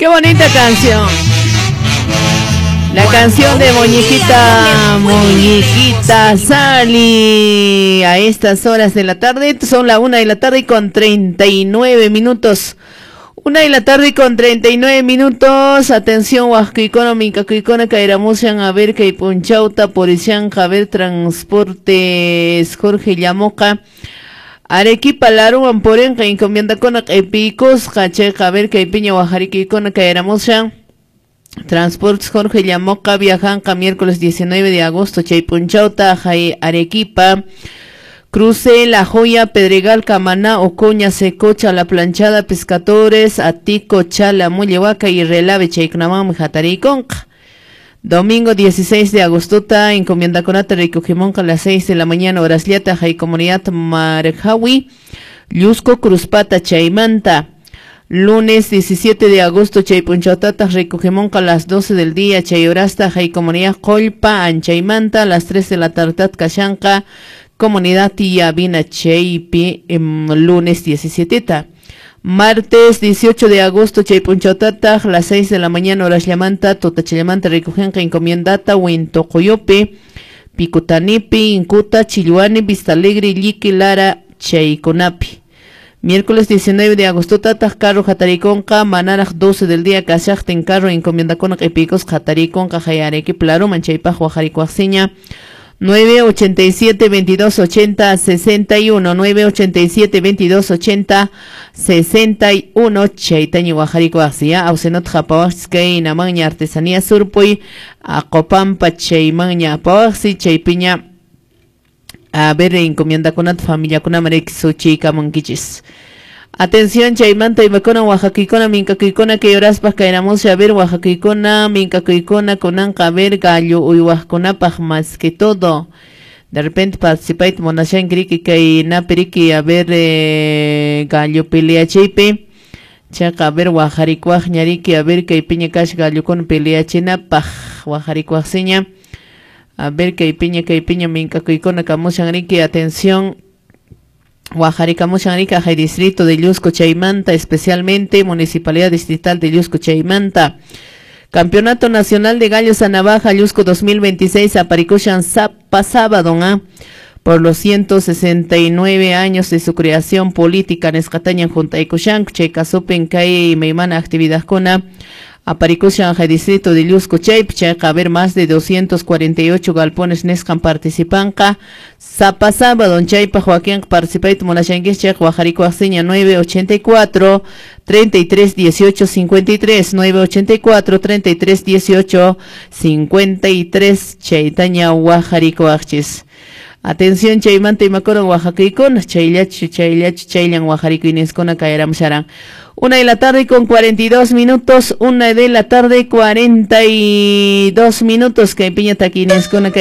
Qué bonita canción. La canción de Muñequita, Muñequita Sally. A estas horas de la tarde, son la 1:39 p.m. 1:39 p.m. Atención, Huascuicona, Mincacuicona, Cairamusian, a ver, Caipunchauta, Porician, Javier Transportes, Jorge Llamoca. Arequipa, Laruan, Porenca, encomienda con Epicos, Cacheca, a ver, Caipiña, Guajariquicona, Cairamusian. Transportes Jorge Llamoca, viajanca miércoles 19 de agosto, Chaypunchauta, Jai Arequipa, Cruce, La Joya, Pedregal, Camaná, Ocoña, Secocha, La Planchada, Pescadores, Atico, Chala, Mullehuaca y Relave, Chaycnamam, Jatariconca. Domingo 16 de agosto, encomienda conata, recogemonca a las 6 de la mañana, horas liata, Jai Comunidad Marjawi, Llusco, Cruzpata, Chaymanta. Lunes 17 de agosto, Chaypunchautata, recogemonca a las 12 del día, Chayorasta, Jai Comunidad Colpa, Anchaymanta, a las 3 de la tarde, Kashanka, Comunidad Tiyabina, Chaypi, lunes 17. Martes 18 de agosto, Chaypunchautata, a las 6 de la mañana, horas llamanta, Totachallamanta, recogenca, encomiendata, Huintocoyope, Picutanipi, Incuta, Chilluani, Vista Alegre, Liqui, Lara, Chayconapi. Miércoles 19 de agosto, Tataj, Carro, Jatariconca, Manaraj, 12 del día, Cachacten, Carro, Encomienda con Epicos, Jatariconca, Jayareque, Plaro, Manchaypa, Guajaricuaxiña, 987 22 80 61, 987 22 80 61, Chaitañi, Guajaricuaxia, Ausenot, Japawaxkay, Namaña, Artesanía, Surpuy, Acopampa, Chaymaña, Apawaxi, Chaypiña, a ver, encomienda con familia con amarek suchica monquichis. Atención, chaymanta, imacona, oaxaquicona, mincacuicona, que yoraspas caeramos a ver, oaxaquicona, mincacuicona, conanca, a ver, gallo, uyhuasconapaj, más que todo. De repente participáis, monashan, criki, que napiriki, a ver, gallo pelea cheipe. Chaca, a ver, oaxaricuaj, ñariki, a ver, que piña cash, gallo con pelea chinapaj, oaxaricuaj seña. A ver, que piña, mincacuicona, camushan, atención. Guajaricamushan, Jai Distrito de Llusco, Chaymanta, especialmente Municipalidad Distrital de Llusco, Chaymanta. Campeonato Nacional de Gallos a Navaja, Llusco 2026, Aparicushan, sábado, ¿ah? Por los 169 años de su creación política, Nescatañan, Juntaycushan, Chaycasupen, Kai, Meimana, actividad cona. Aparicushan, Jai Distrito de Llusco, Chayp, Chayca, a ver, más de 248 galpones Nescan participanca. Zapa sábado, Chaypa, Joaquín, participait, Monashanguis, Chayc, Guajarico, Axeña, 984 33 18 53, 984 33 18 53, Chaytaña, Guajarico, Axchis. Atención, Chaymanta y Macoro, Oaxacaicon, Chaylachi, Chaylachi, Chaylan, Oaxarico, Inescona, Caeram, Sharan. 1:42 p.m, 1:42 p.m, que piña taquinescona, que